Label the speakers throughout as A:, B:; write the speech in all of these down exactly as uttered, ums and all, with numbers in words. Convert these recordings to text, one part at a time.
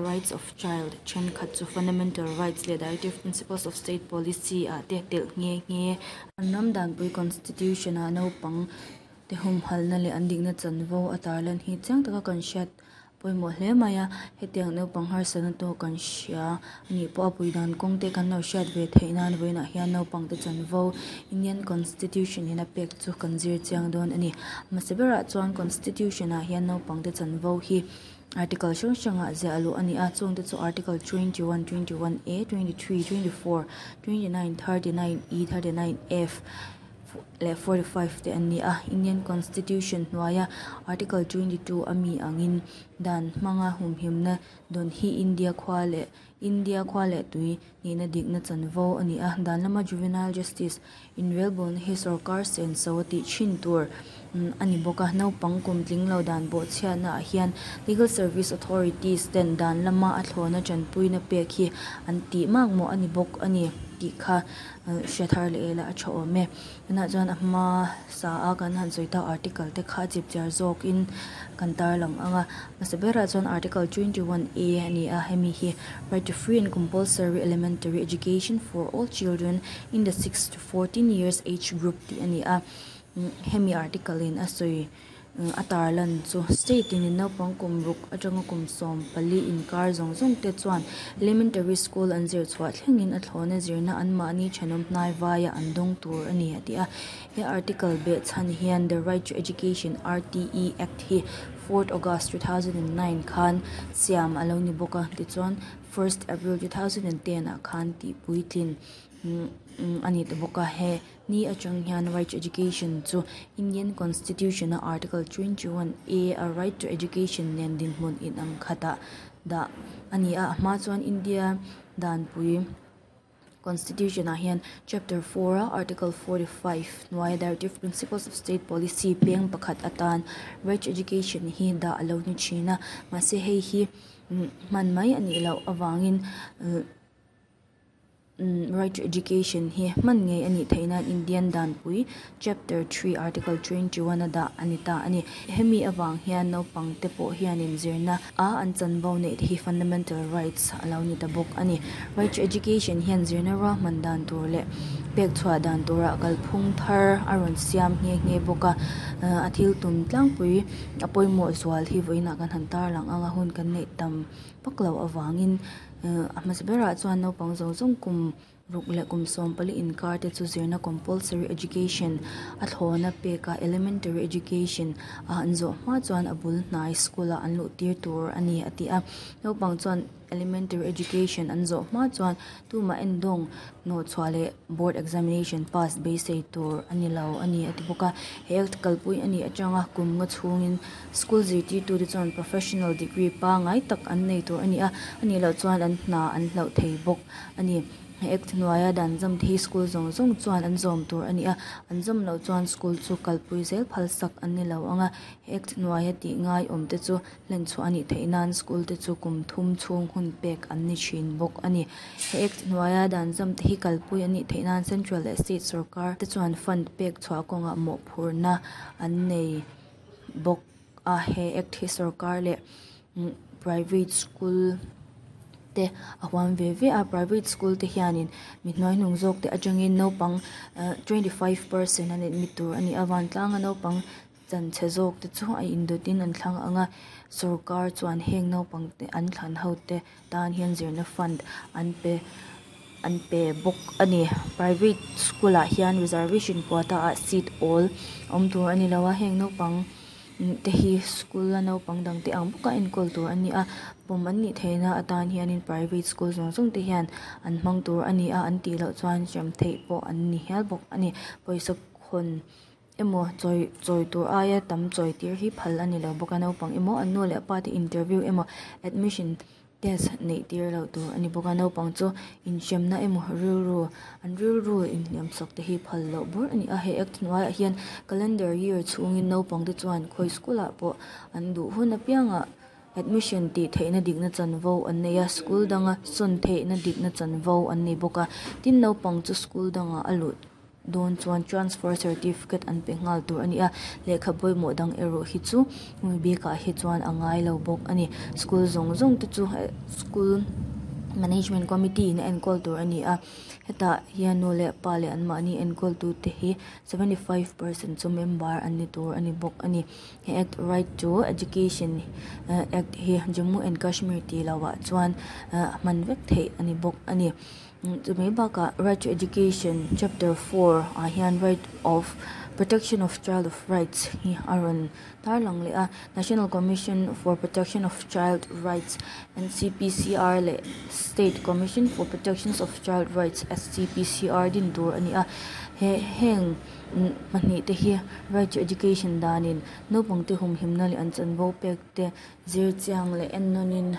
A: Rights of Child thenkhat chu Fundamental Rights leh Directive Principles of State Policy ah te telh nghe nghe an ram danpui Constitution ah naupang te humhalhna leh an dikna chanvo a tarlan hi chiang taka kan hriat pawimawh hle mai a hetiang naupang harsatna tawk kan hria anih pawh a pui dan kawng te kan lo hriat ve theih nan vawiinah hian naupang te chanvo Indian Constitution in a pek chu kan zir chiang dawn a ni hmasa berah chuan Constitution ah hian naupang te chanvo hi article hrang hrangah ziah luh a ni a chung te chu article twenty one twenty one A twenty three twenty four twenty nine thirty nine E thirty nine F leh forty five te an ni a Indian Constitution hnuaia article twenty two ami angin dan hmanga humhimna dawn hi India khua leh India khua leh tui nihna dikna chanvo a ni a dan lama juvenile justice inrelbawlna hi sawrkar senso a tih thin tur a ni bawk a naupang kum tling lo dan bawh chhiatna ah hian legal service authorities ten dan lama a thlawna tanpuina pek hi an tih makmawh a ni bawk a ni tih kha hre thar leh ila a tha awm e tunah chuan a hma sa a kan han sawi tak article te kha chipchiar zawkin kan tarlang anga hmasa berah chuan article twenty one A ani a hemi hi right to free and compulsory elementary education for all children in the six to fourteen years age group tih ani a hemi article in a sawi a tarlan chu state in naupang kum ruk atanga kum sawm pali inkar zawng zawng te chuan elementary school an zir chhuah thlengin a thlawna zirna an mahni thenawm hnai vaia an dawng tur a ni a ti a he article beh chhan hian the right to education R T E act hi fourth August two thousand and nine khan siam alo ni bawk a tichuan first April two thousand and ten ah khan tih puitlin ani ta bawk a he ni atang hian right to education chu Indian Constitution a article twenty one A a right to education nen dinhmun inang khatah dah ani a a hma chuan India danpui Constitution ah hian chapter four a article forty five hnuaia directive principles of state policy peng pakhat atan right to education hi dah alo ni thin a mahse hei hi hman mai anih loh avangin right to education hi hman ngei anih theih nan Indian danpui chapter three article twenty one a dah ani ta ani hemi avang hian naupang te pawh hianin zirna a an chanvo neih te hi fundamental rights alo ni ta bawk ani right to education hian zirna ruahman dan tur leh pek chhuah dan turah kalphung thar a rawn siam nghe nghe bawk a a thil tum tlangpui a pawimawh zual hi vawiinah kan han tarlang anga hun kan neih tam vak loh avangin a hmasa berah chuan naupang zawng zawng kum ruk leh kum sawm pali inkar te chu zirna compulsory education a thlawna pek a elementary education a an zawh hma chuan a bul hnai school ah an luh tir tur ani a ti a naupang chuan elementary education an zawh hma chuan tumah endawng nawh chhuah leh board examination pass beisei tur ani lo ani a ti bawk a he kalpui anih atanga kum nga chhungin school zirtirtu te chuan professional degree pangai tak an nei tur ani a anih loh chuan an hna an hloh thei bawk ani he act hnuaia dan zam te hi school zawng zawng chuan an zawm tur ani a an zawm loh chuan school chu kalpui zel phal sak an ni lo anga he act hnuaia tih ngai awm te chu hlen chhuah anih theih nan school te chu kum thum chhung hun pek an ni thin bawk ani he act hnuaia dan zam te hi kalpui anih theih nan central leh state sawrkar te chuan fund pek chhuah kawngah mawhphurhna an nei bawk a he act hi sawrkar leh private school te a huam ve ve a private school te hianin mi hnuaihnung zawk te atangin naupang twenty five percent an admit tur ani a vantlanga naupang chanchhe zawk te chu a indawtin an thlang anga sawrkar chuan heng naupang te an thlan ho te tan hian zirna fund an pe an pe bawk ani private school ah hian reservation quota ah seat awl awm tur ani lo a heng naupang te hi school a naupang dang te ang bawka enkawl tur ani a pawm an nih theihna atan hianin private school zawng zawng te hian an hmang tur ani a an tih loh chuan hrem theih pawh an ni hial bawk ani pawisa khawn emaw chawi chawi tur aia tam chawi tir hi phal ani lo bawk a naupang emaw an nu leh pa te interview emaw admission test neih tir loh tur ani bawk a naupang chu inhremna emaw rilru an rilru inhliam sak te hi phal loh bur ani a he act hnuaiah hian calendar year chhungin naupang te chuan khawi school ah pawh an duh hun apiangah admission tih theihna dikna chanvo an nei a school danga sawn theihna dikna chanvo an nei bawk a tin naupang chu school dangah a luh dawn chuan transfer certificate an pe nghal tur a ni a lehkha pawimawh dang erawh hi chu hemi bikah hi chuan a ngai lo bawk a ni school zawng zawng te chu school management committee in a enkawl tur a ni a hetah hian nu leh pa leh an mahni enkawl tu te hi seventy five percent chu member an ni tur a ni bawk a ni he act right to education act hi Jammu and Kashmir tih loh ah chuan ah hman vek theih a ni bawk a ni chumai bakah right to education chapter four ah hian right of protection of child of rights hi a rawn tarlang leh a national commission for protection of child rights N C P C R leh state commission for protections of child rights S C P C R din tur a ni a he heng pahnih te hi right to education danin naupang te humhimna leh an chanvo pek te zir chiang leh en nawnin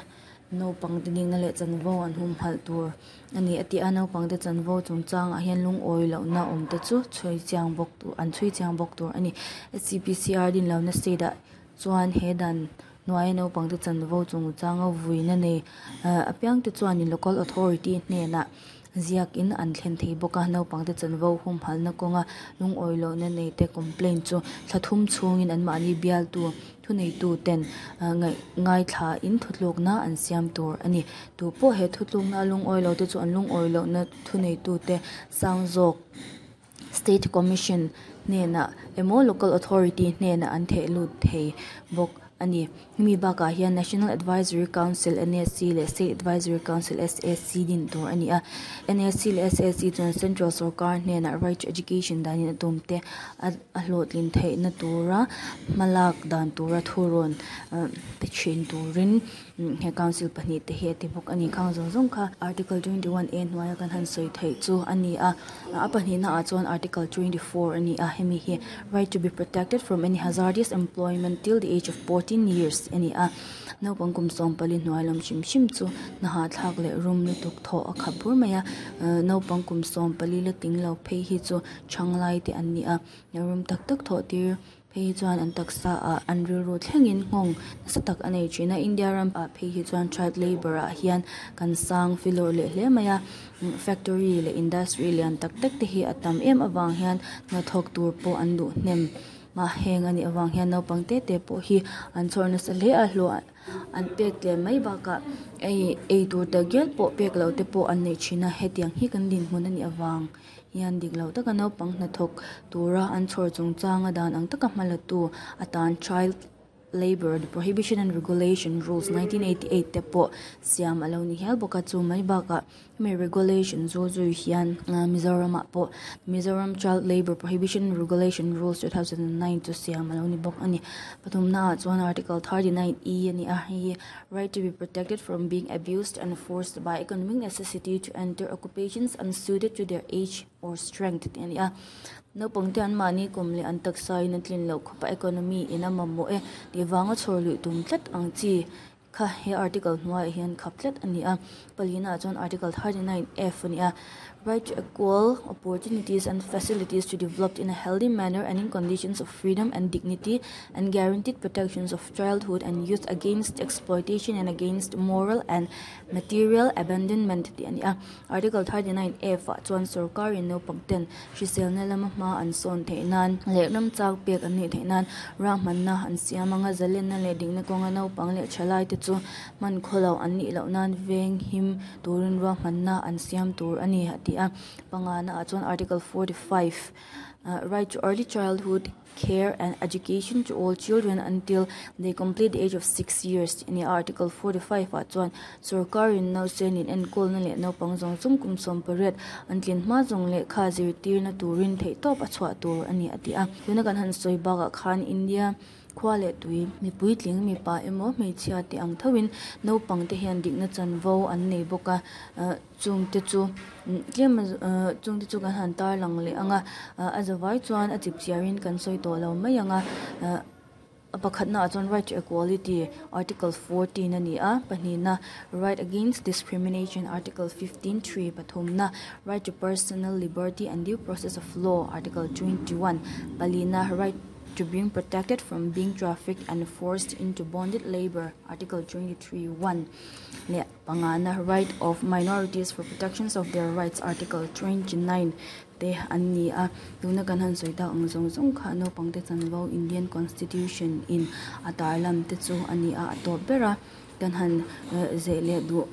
A: naupang te dikna leh chanvo an humhalh tur ani a ti a naupang te chanvo chungchangah hian lungawi lohna awm te chu chhui chiang bawk tur an chhui chiang bawk tur ani S C P C R din lohna state ah chuan he dan hnuaia naupang te chanvo chungchanga vuina nei apiang te chuanin local authority hnenah ziakin an thlen thei bawk a naupang te chanvo humhalhna kawnga lungawi lohna nei te complaint chu thla thum chhungin an mahni bialtu thuneitu ten ngaih ngaithla in thutlukna an siam tur ani tupawh he thutlukna a lungawi lo te chu an lungawi lohna thuneitu te sang zawk state commission hnenah emaw local authority hnenah an theh lut thei bawk ani hemi bakah hian national advisory council N A C leh state advisory council S A C din tur ani a N A C leh S A C chuan central sorkar hnenah right to education danin a tum te a hlawhtlin theihna tura hmalak dan tura thurawn pe thin turin he council pahnih te hi a ti bawk ani khang zawng zawng kha article twenty one a hnuaia kan han sawi theih chu ani a a pahnihna ah chuan article twenty four ani a hemi hi right to be protected from any hazardous employment till the age of fourteen years ani a naupang kum sawm pali hnuai lam hrim hrim chu hna hahthlak leh rum lutuk thawh a khap bur mai a naupang kum sawm pali la tling lo phei hi chu thanglai te an ni a rum tak tak thawh tir phei hi chuan an taksa ah an rilru thlengin nghawng nasa tak a nei thin a India ram ah phei hi chuan child labour ah hian kan sang filawr leh hle mai a factory leh industry lian tak tak te hi a tam em avang hian hnathawk tur pawh an duh hnem a heng anih avang hian naupang te te pawh hi an chhawr nasa hle a hlawh an pek tlem mai bakah ei eitur takngial pawh pek loh te pawh an nei thin a hetiang hi kan dinhmun anih avang hian dik lo taka naupang hnathawk tura an chhawr chungchanga dan ang taka hma la tu atan child labour prohibition and regulation rules nineteen eighty eight te pawh siam alo ni hial bawk a chu mai bakah hemi regulation zu zui hian Mizoram ah pawh Mizoram child labour prohibition regulation rules two thousand and nine chu siam alo ni bawk ani pathumna ah chuan article thirty nine e ani a hei hi right to be protected from being abused and forced by economic necessity to enter occupations unsuited to their age or strength tih ani a naupang te an mahni kum leh an taksa in a tlin loh khawpa economy in a mamawh e tih vanga chhawr luih tum tlat ang chi kha he article hnuaiah hian khap tlat ani a palina ah chuan article thirty nine f ani a right to equal opportunities and facilities to develop in a healthy manner and in conditions of freedom and dignity and guaranteed protections of childhood and youth against exploitation and against moral and material abandonment tih ani a article thirty nine f ah chuan sorkarin naupang ten hriselna lama hma an sawn theih nan leh ram chak pek an nih theih nan rahmanna an siam anga zalenna leh dikna kawnga naupang leh thalai te chu hman khawlo an nih loh nan veng him turin ruahmanna an siam tur ani a ti a pangana ah chuan article forty five ah right to early childhood care and education to all children until they complete the age of six years ani a article forty five ah chuan sorkarin nausen in enkawlna leh naupang zawng zawng kum sawm pariat an tlin hma zawng lehkha zirtirna turin theihtawp a chhuah tur ani a ti a tuna kan han sawi bakah khan India khua leh tui mipui tling mipa emaw hmeichhia te ang thoin naupang te hian dikna chanvo an nei bawk a ah chung te chu tlem ah chung te chu kan han tarlang leh anga ah a zavai chuan a chipchiar in kan sawi tawh lo mai anga ah a pakhatna ah chuan right to equality article fourteen ani a pahnihna right against discrimination article fifteen three pathumna right to personal liberty and due process of law article twenty one palina right to being protected from being trafficked and forced into bonded labour article twenty three one leh pangana right of minorities for protections of their rights article twenty nine te an ni a tuna kan han sawi tak ang zawng zawng kha naupang te chanvo Indian constitution in a tarlan te chu a ni a a tawp ber a kan han zeh leh duh.